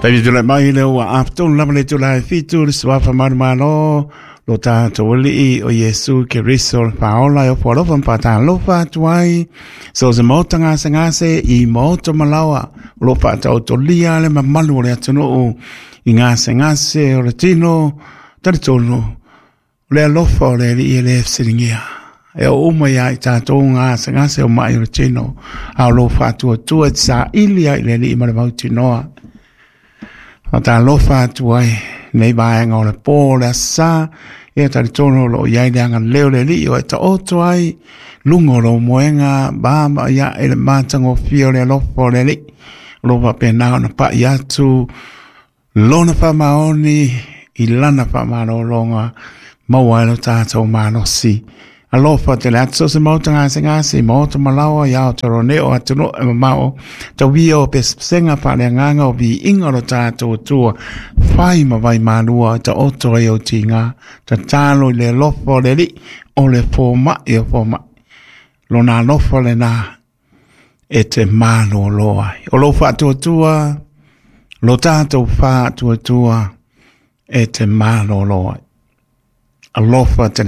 Taimi tulai mai le ua atoa lava le itula e 7 le suafa manumalo lo tatou Alii o Iesu Keriso le Faaola e ofo alofa ma faatalofa atu ai so se maota gasegase i maota malaoa o lo faataotolia le mamalu o le atunuu i gasegase o le tino. Talitonu o le alofa o le Alii e le fesiligia e oo uma ia i tatou gasegase o mai o le tino, a o lo faatuatua e te saili ai i le Alii ma le mautinoa. Faatalofa atu ai nei vaega o le pō o le aso sa, ia talitonu o lo o i ai le agalelei o le Alii o e taoto ai luga o lou moega ma ia e le matagofie o le alofa o le Alii. O lo o faapena ona pai atu lona faamaoni i lana faamalologa maua ai lo tatou malosi. Alofa tele atu so se maota gasegase i maota malaoa i Aotearoa nei o atunuu e mamao tauia o pesepesega faaleagaga o viiga o lo tatou Atua fai ma vai malua taoto ai o tiga tatalo i le alofa o le Alii o le fomai o fomai lona alofa lena e te malolo ai. O lou faatuatua, lo tatou faatuatua e te malolo ai. Alofa tele.